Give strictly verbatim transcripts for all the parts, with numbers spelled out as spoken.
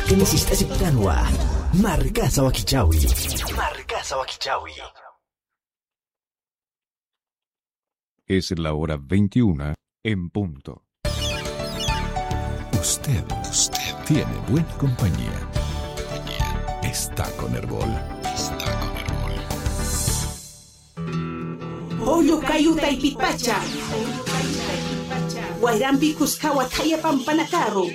Q'inisistasiktanwa. Markasa wakichawi. Markasa wakichawi. Es la hora veintiuna en punto. Usted, usted tiene buena compañía. Está con Erbol. Está con Erbol. Pollo kayu taypipacha. Wayrampi kuskawa thaya pampanakaru.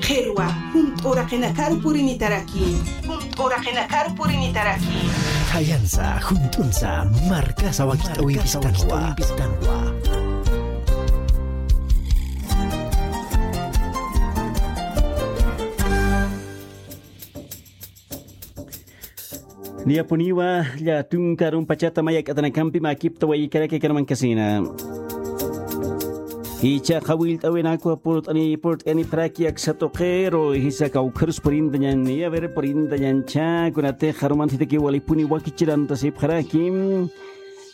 Qhirwa, junt'u uraqinakaru purinitaraki. Junt'u uraqinakaru purinitaraki. Thayansa, junt'unsa, markasa wakich'awimpistanwa. Niyapuniwa, lla tunka arumpachata mayak'atanakampi makipta waykaraki karmankasina. Jichha qhawillt'awinakwa purt'ani, purt'ani pharaki aksa tuqiru, jisa kawkharus purintañani, a ver, purintañancha, kunatix arumanthitaki walipuni wakichirantasipxaraki.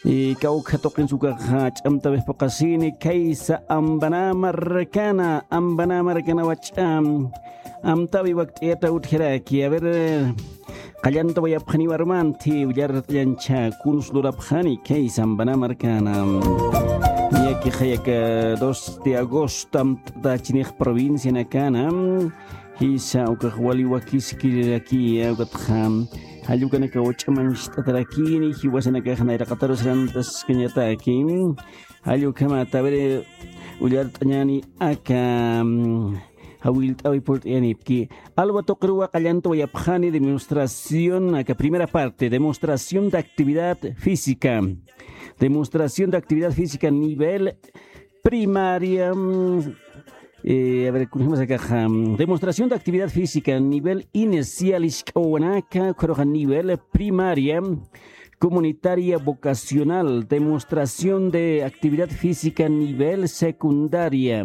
Y kawkha tuqinsa ukaxa ch'amtawix phuqasini, khaysa Ambanä markana, Ambanä markana wach'a. Amtawi wakt'ayata utjaraki. A ver, qallantawayapxaniwa arumanthi, willart'añancha kuns lurapxani, khaysa Ambanä markana. Niyakixa aka dos de agosto amt'atachinix provincianakana. Jisa ukax wali wakiskirirakiya, ukatxa jall ukanakaw ch'amancht'atarakini, jiwasanakax nayraqataru sarantaskañataki. Jall ukhamat, a ver, willart'añani aka, mm, jawillt'awi purt'ayanipki. Alwa tuqiruwa qallantawayapxani demostración, aka primera parte, demostración de actividad física. Demostración de actividad física nivel primaria, mm, eh, a ver, kunjamas akaxa, mm, demostración de actividad física nivel inicial, isk'awanaka, ukharuxa nivel primaria, comunitaria vocacional, demostración de actividad física nivel secundaria,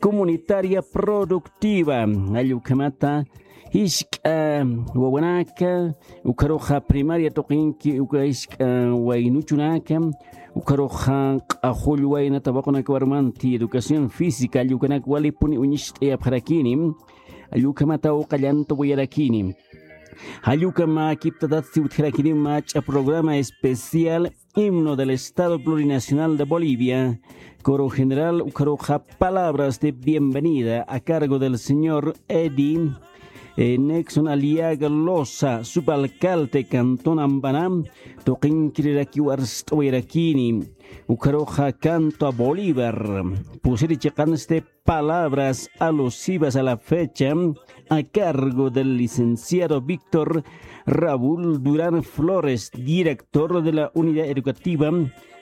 comunitaria productiva, jall ukhamata, jisk'a wawanaka, ukharuxa primaria tuqinki, uka jisk'a waynuchunaka, ukharuxa q'axull wayna tawaqunaka arumanthi educación física, jall ukanak walipuni uñicht'ayapxarakini, jall ukhamataw qallantwayarakini. Jall ukham makiptatatsti utjarakini mach'a programa especial Himno del Estado Plurinacional de Bolivia, coro general, ukharuxa palabras de bienvenida a cargo del señor Eddie, eh, Nexon Aliaga Loza, subalcalde cantón Ambanä, tuqinkirirakiw arst'awayarakini, ukharuxa canto a Bolívar, pusiri chiqansti palabras alusivas a la fecha a cargo del licenciado Víctor Raúl Durán Flores, director de la Unidad Educativa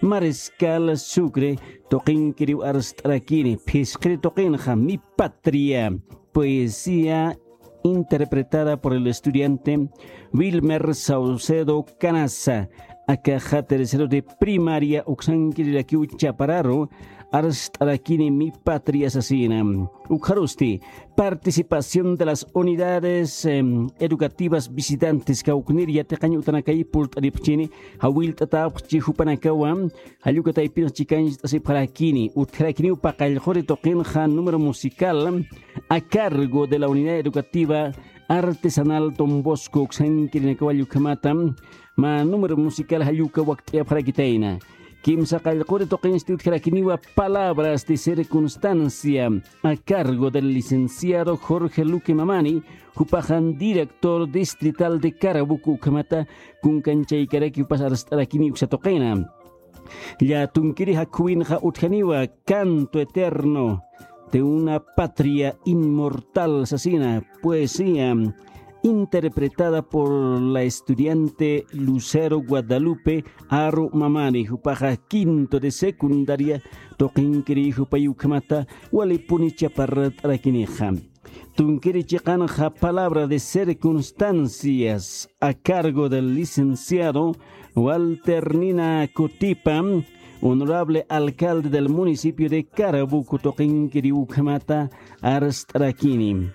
Mariscal Sucre, tuqinkiriw arst'arakini, phisqiri tuqinxa, Mi Patria, poesía interpretada por el estudiante Wilmer Saucedo Canaza, akaxa tercero de primaria uksankirirakiw chapararu arst'arakini Mi Patria sasina. Ukxarusti, participación de las unidades, em, educativas visitantes, kawknir yatiqañ utanakay purt'aripxchini, jawillt'atäpxchi jupanakawa, jall uka taypinx chikancht'asipxarakini, utjarakiniw paqallquri tuqinxa número musical a cargo de la Unidad Educativa Artesanal Don Bosco uksankirinakawa jall ukhamata, mä número musical jall uka wakt'ayapxarakitayna. Kimsa qallquri tuqinsti utjarakiniwa Palabras de Circunstancia a cargo del licenciado Jorge Luque Mamani, jupaxa director distrital de Caraboco ukhamata, kunkanchaykaraki jupas arst'arakini uksa tuqina. Lla tunkiri jakhüwinxa utjaniwa Canto Eterno de una Patria Inmortal sasina, poesía interpretada por la estudiante Lucero Guadalupe Aru Mamani, jupaxa quinto de secundaria tuqinkiri, jupay ukhamata walipuni chaparrat'arakinixa. Tunkiri chiqanxa Palabra de Circunstancias a cargo del licenciado Walter Nina Cutipa, honorable alcalde del municipio de Caraboco tuqinkiri ukhamata arst'arakini.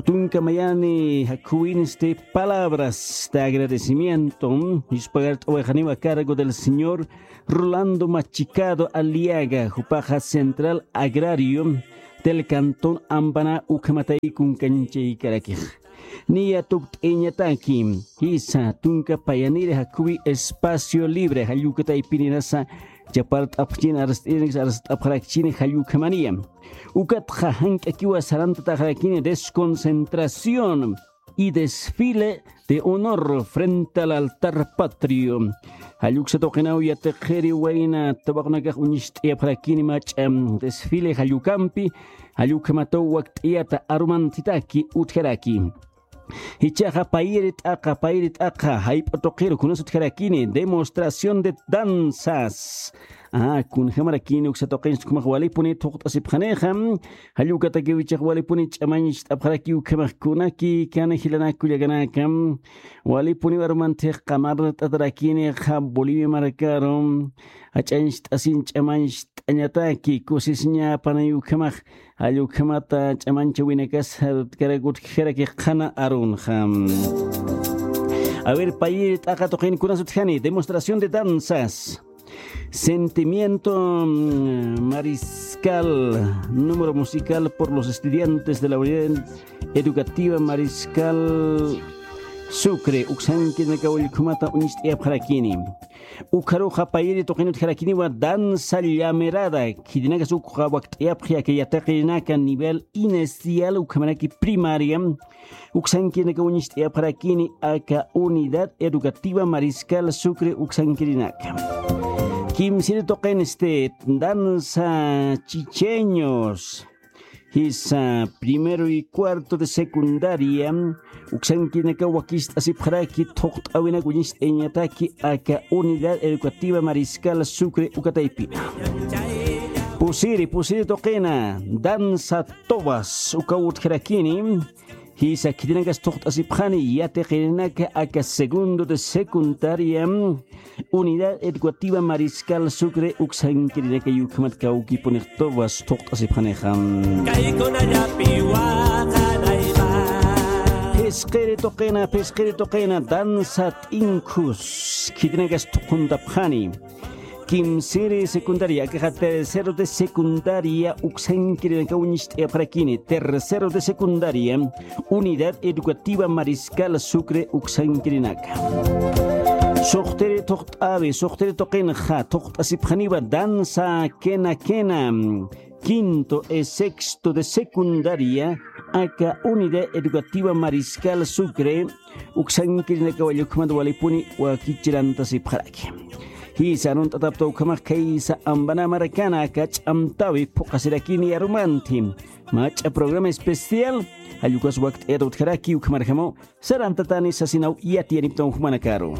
Tunka mayani jakhüwinsti palabras de agradecimiento, yuspagart'awayxaniwa a cargo del señor Rolando Machicado Aliaga, jupaxa Central Agrario del cantón Ambaná ukhamatay kunkanchaykarakix. Niya tukt'iñataki, jisa tunka payaniri jakhuwi espacio libre jallukataypinirasa chapart'apxchin arst'irinakis arst'apxarakchini jallukhamaniya. Ukatxa jank'akiwa sarantataxarakini desconcentración y desfile de honor frente al altar patrio. Jalluksa tuqinaw yatiqiri wayna tawaqunakax uñist'iyapxarakini mach'a desfile jallukampi, jallukhamataw wakt'iyata arumantitaki utjaraki. Jichhaxa payiri t'aqa, payiri t'aqa, jayp'u tuqiru kunas utjarakini, demostración de danzas. Ah, kunjamarakini uksa tuqinchis ukhamax walipuni thuqt'asipxanixa, jallukatakiw jichhax walipuni ch'amañcht'apxaraki ukhamax kunaki, kana jilanak kullakanaka, walipuni arumantix qamart'atarakinixa Bolivia markaru, jach'añcht'asin ch'amañcht'añataki, kusisñapanay ukhamax, jallukhamata ch'amanchawinakas utjarakix qhana arunxa. A ver, payiri t'aqa tuqin kunas utjani, demostración de danzas. Sentimiento, mm, Mariscal, número musical por los estudiantes de la Unidad Educativa Mariscal Sucre, uksankirinaka ullkhumata uñist'iyapxarakini. Ukharuxa payiri tuqin utjarakiniwa danza llamerada, khitinakas ukxa wakt'iyapxi aka yatiqirinaka nivel inicial ukhamaraki primaria, uksankirinaka uñist'iyapxarakini aka Unidad Educativa Mariscal Sucre uksankirinaka. Kimsiri tuqin este danza chicheños. Jisa primero y cuarto de secundaria, uksankirinaka wakist'asipxaraki thuqt'awinak uñist'ayañataki aka Unidad Educativa Mariscal Sucre ukataypina. Pusiri, pusiri tuqina, danza tobas, ukaw utjarakini, jisa khitinakas thuqt'asipxani, yatiqirinaka aka segundo de secundaria, Unidad Educativa Mariscal Sucre uksankirinaka ukhamat kawkipunix tobas thuqt'asipxanixa. Kaykunallapi waqanayma. Phisqiri tuqina, phisqiri tuqina, danza t'inkhus, khitinakas thuquntapxani. Kimsiri secundaria, akaxa tercero de secundaria, uksankirinaka uñist'iyapxarakini, tercero de secundaria, Unidad Educativa Mariscal Sucre uksankirinaka. Suxtiri thuqt'awi, suxtiri tuqinxa, thuqt'asipxaniwa danza kena kena, quinto y sexto de secundaria, aka Unidad Educativa Mariscal Sucre, uksankirinaka wallukhamat walipuni wakichirantasipxaraki. Jisa arunt'atapta ukhamax khaysa Ambaná markana aka ch'amtawi phuqasirakini arumanti. Mach'a programa especial, jallukas wakt'ayata utjaraki ukhamarjamaw, sarantatani sasinaw yatiyaniptaw jumanakaru.